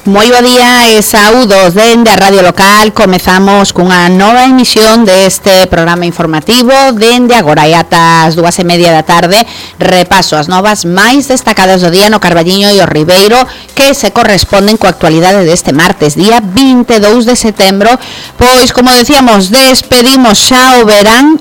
Moi bo día e saúdos dende a Radio Local. Comezamos cunha nova emisión deste programa informativo dende agora e ata as 2:30 da tarde. Repaso as novas máis destacadas do día no Carballiño e o Ribeiro que se corresponden coa actualidade deste martes, día 22 de setembro. Pois, como decíamos, despedimos xa o verán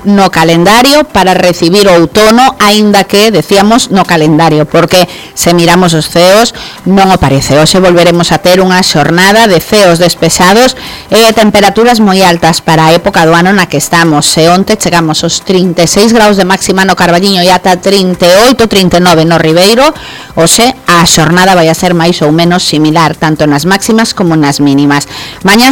no calendario para recibir o outono, aínda que decíamos no calendario, porque se miramos os ceos non o parece. Hoxe volveremos a ter unha xornada de ceos despejados e temperaturas moi altas para a época do ano na que estamos. E onte chegamos aos 36 graus de máxima no Carballiño e ata 38, 39 no Ribeiro. Hoxe a xornada vai a ser máis ou menos similar, tanto nas máximas como nas mínimas. Mañá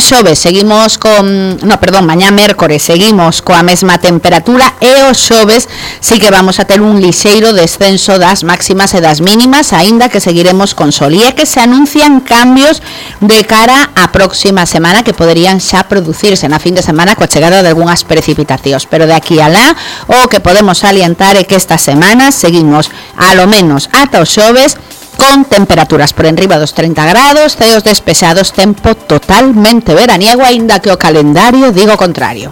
mércores seguimos coa mesma temperatura e o xoves sí que vamos a ter un lixeiro descenso das máximas e das mínimas, aínda que seguiremos con sol. E é que se anuncian cambios de cara á próxima semana que poderían xa producirse na fin de semana coa chegada de algunhas precipitacións, pero de aquí alá o que podemos salientar é que esta semana seguimos a lo menos ata o xoves con temperaturas por enriba dos 30 grados, ceos despexados, tempo totalmente veraniego, aínda que o calendario digo o contrario.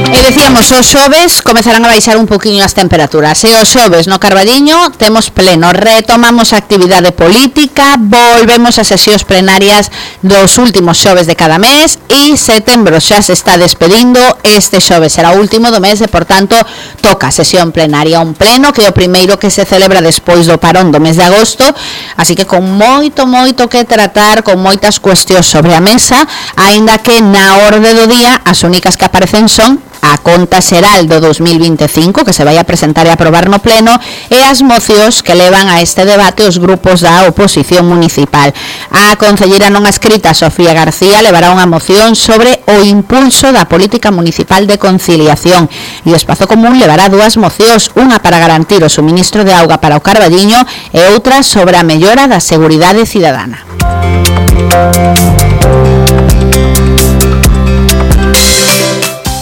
E decíamos, os xoves comezarán a baixar un poquinho as temperaturas. E os xoves no Carballiño temos pleno, retomamos a actividade política, volvemos a sesións plenarias dos últimos xoves de cada mes e setembro xa se está despedindo. Este xoves será o último do mes e, por tanto, toca sesión plenaria, un pleno que é o primeiro que se celebra despois do parón do mes de agosto, así que con moito que tratar, con moitas cuestións sobre a mesa, aínda que na orde do día as únicas que aparecen son a conta xeral do 2025 que se vai a presentar e aprobar no pleno e as mocións que levan a este debate os grupos da oposición municipal. A concelleira non escrita Sofía García levará unha moción sobre o impulso da política municipal de conciliación e o Espazo Común levará dúas mocións, unha para garantir o suministro de auga para o Carballiño e outra sobre a mellora da seguridade cidadana.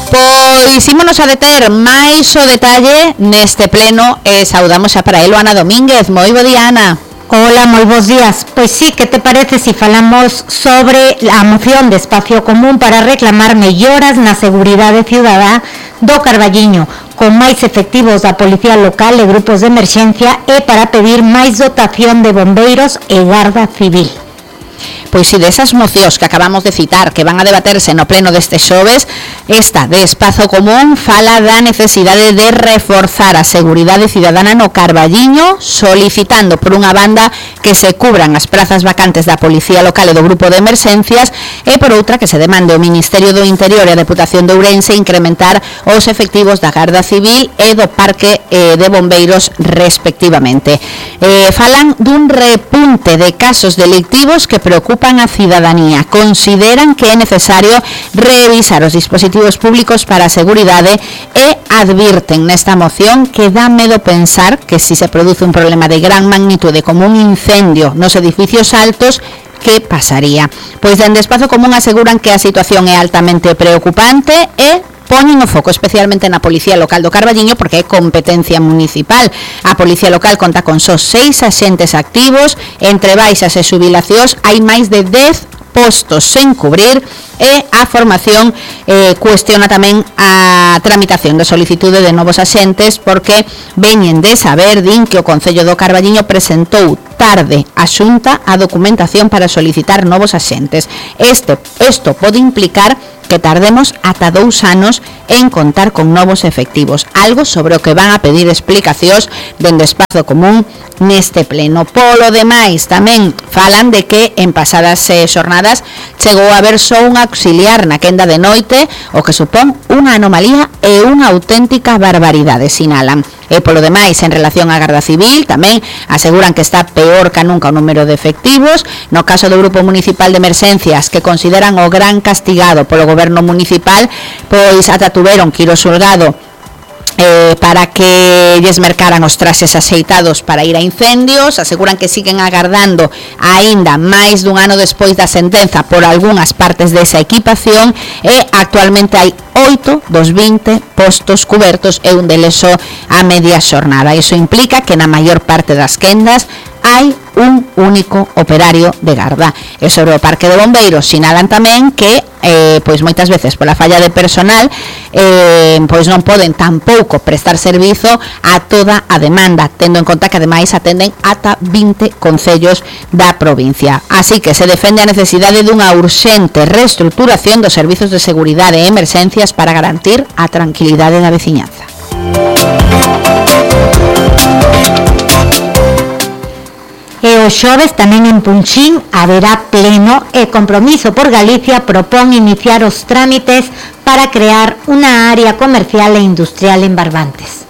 Pois ímonos a deter máis o detalle neste pleno e saudamos xa para elo Ana Domínguez. Moi bo día, Ana. Hola, moi bons días. Pois sí, que te parece se falamos sobre a moción de Espacio Común para reclamar melloras na seguridade cidadá do Carballiño, con máis efectivos da Policía Local e grupos de emerxencia e para pedir máis dotación de bombeiros e Garda Civil? Pois si desas mocións que acabamos de citar que van a debaterse no pleno deste xoves, esta de Espazo Común fala da necesidade de reforzar a seguridade cidadana no Carballiño, solicitando por unha banda que se cubran as prazas vacantes da Policía Local e do Grupo de Emerxencias e por outra que se demande ao Ministerio do Interior e a Deputación de Ourense incrementar os efectivos da Garda Civil e do Parque de Bombeiros respectivamente. Falan dun repunte de casos delictivos que preocupan a cidadanía. Consideran que é necesario revisar os dispositivos públicos para a seguridade e advirten nesta moción que dá medo pensar que si se produce un problema de gran magnitude como un incendio nos edificios altos, que pasaría? Pois dende Espazo Común aseguran que a situación é altamente preocupante e poñen o foco especialmente na Policía Local do Carballiño porque é competencia municipal. A Policía Local conta con só 6 axentes activos, entre baixas e xubilacións hai máis de 10 postos sen cubrir e a formación cuestiona tamén a tramitación de solicitude de novos axentes porque veñen de saber, din que o Concello do Carballiño presentou tarde a Xunta a documentación para solicitar novos axentes. Isto pode implicar que tardemos ata 2 anos en contar con novos efectivos, algo sobre o que van a pedir explicacións dende Espazo Común neste pleno. Polo demais, tamén falan de que en pasadas xornadas chegou a haber só un auxiliar na quenda de noite, o que supón unha anomalía e unha auténtica barbaridade, sinalan. E polo demais, en relación á Garda Civil, tamén aseguran que está peor que nunca o número de efectivos. No caso do Grupo Municipal de Emerxencias, que consideran o gran castigado polo Goberno Municipal, pois ata tuveron que ir ao xulgado para que lles mercaran os traxes axeitados para ir a incendios. Aseguran que siguen agardando aínda máis dun ano despois da sentenza por algunhas partes desa equipación, e actualmente hai 8 dos 20 postos cubertos e un deles só a media xornada. Iso implica que na maior parte das quendas hai un único operario de garda. E sobre o parque de bombeiros sinalan tamén que pois moitas veces pola falla de personal pois non poden tampouco prestar servizo a toda a demanda, tendo en conta que ademais atenden ata 20 concellos da provincia. Así que se defende a necesidade dunha urxente reestruturación dos servizos de seguridade e emerxencias para garantir a tranquilidade da veciñanza. E o xoves tamén en Punxín haberá pleno e Compromiso por Galicia propón iniciar os trámites para crear unha área comercial e industrial en Barbantes.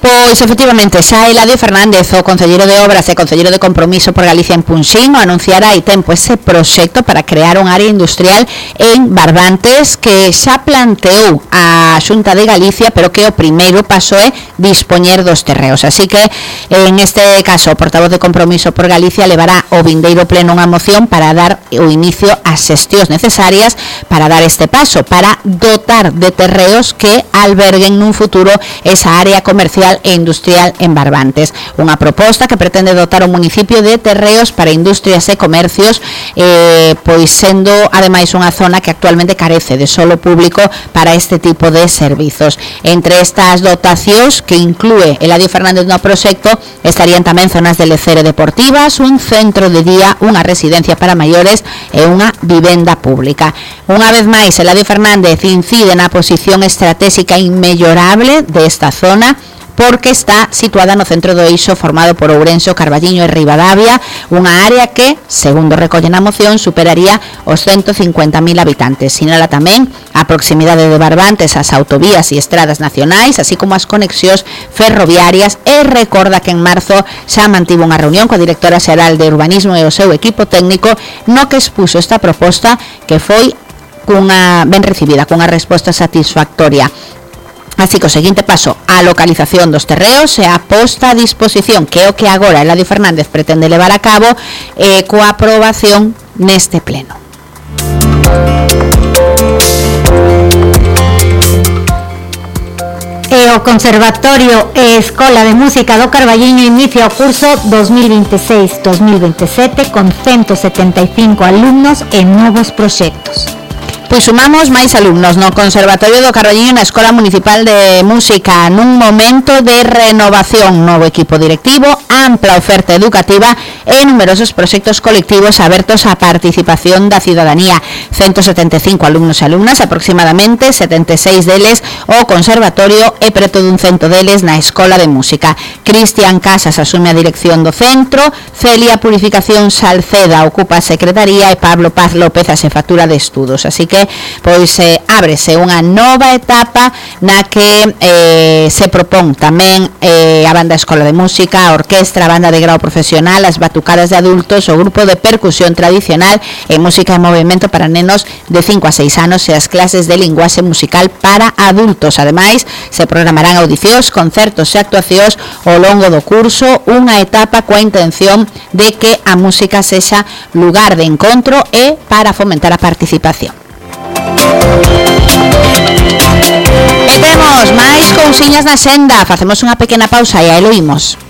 Pois efectivamente, xa Eladio Fernández, o concelleiro de Obras e concelleiro de Compromiso por Galicia en Punxín, o anunciará hai tempo ese proxecto para crear unha área industrial en Barbantes que xa planteou a Xunta de Galicia, pero que o primeiro paso é dispoñer dos terreos. Así que, en este caso, o portavoz de Compromiso por Galicia levará o vindeiro pleno unha moción para dar o inicio ás xestións necesarias para dar este paso, para dotar de terreos que alberguen nun futuro esa área comercial e industrial en Barbantes. Unha proposta que pretende dotar o municipio de terreos para industrias e comercios, pois sendo ademais unha zona que actualmente carece de solo público para este tipo de servizos. Entre estas dotacións que inclúe Eladio Fernández no proxecto estarían tamén zonas de lecere deportivas, un centro de día, unha residencia para maiores e unha vivenda pública. Unha vez máis, Eladio Fernández incide na posición estratégica inmellorable desta zona, porque está situada no centro do eixo formado por Ourense, Carballiño e Ribadavia, unha área que, segundo recolle na moción, superaría os 150.000 habitantes. Sinala tamén a proximidade de Barbantes ás autovías e estradas nacionais, así como as conexións ferroviarias, e recorda que en marzo xa mantivo unha reunión coa directora xeral de Urbanismo e o seu equipo técnico, no que expuso esta proposta, que foi ben recibida, cunha resposta satisfactoria. Así que o seguinte paso, a localización dos terreos e a posta a disposición, que é o que agora Eladio Fernández pretende levar a cabo coa aprobación neste pleno. E o Conservatorio e Escola de Música do Carballiño inicia o curso 2026-2027 con 175 alumnos e novos proxectos. Pois sumamos máis alumnos no Conservatorio do Carballiño na Escola Municipal de Música nun momento de renovación, novo equipo directivo, ampla oferta educativa e numerosos proxectos colectivos abertos á participación da cidadanía. 175 alumnos e alumnas, aproximadamente 76 deles o Conservatorio e preto dun 100 deles na Escola de Música. Cristian Casas asume a dirección do centro, Celia Purificación Salceda ocupa a secretaría e Pablo Paz López a xefatura de estudos. Así que pois ábrese unha nova etapa na que se propón tamén a banda Escola de Música, a orquestra, a banda de grau profesional, as batucadas de adultos, o grupo de percusión tradicional e música e movimento para nenos de 5 a 6 anos e as clases de linguaxe musical para adultos. Ademais, se programarán audicións, concertos e actuacións ao longo do curso, unha etapa coa intención de que a música sexa lugar de encontro e para fomentar a participación. E temos máis cousiñas na senda. Facemos unha pequena pausa e aí lo imos.